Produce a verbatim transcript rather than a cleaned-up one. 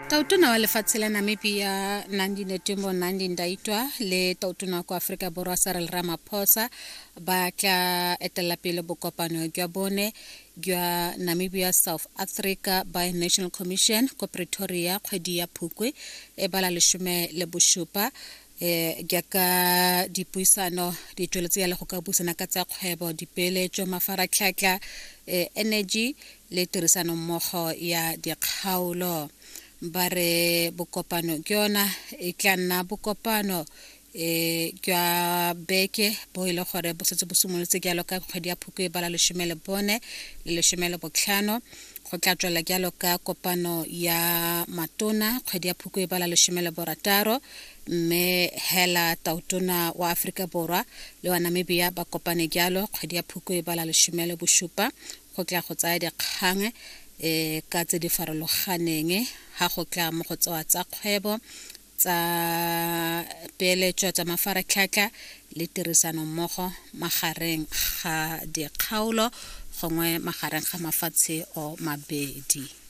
Tautona wa lefatshe la Namibia Nandi Netumbo Nandi Ndaitwah le tautona wa kwa Aforika Borwa Cyril Ramaphosa ba tla etelela pele bokopano jwa bone jwa Namibia South Africa Bi-National Commission ko Pretoria kgwedi ya Phukwi e bala lesome le bosupa, eh jaaka dipuisano di tsweletse ya le go ka buisana ka tsa kgwebo, dipeeletso, mafaratlhatlha, eh, energy le tirisano mmogo ya dikgaolo. Ba re bokopano ke yona e tla nna bokopano eh jwa beke bo e le gore bo setse bo simolotse jalo ka kgwedi ya Phukwi e bala lesome le bone le lesome le botlhano, go tla tswela jalo ka kopano ya matona kgwedi ya Phukwi e bala lesome le borataro, mme hela tautona wa Aforika Borwa le wa Namibia ba kopane jalo kgwedi ya Phukwi e bala lesome le bosupa go tla go tsaya dikgang eh ka tse di farologaneng ha go tla mo go tsewa tsa kgwebo, tsa peeletso, tsa mafaratlhatlha le tirisano mmogo magareng ga dikgaolo gongwe magareng ga mafatshe o mabedi.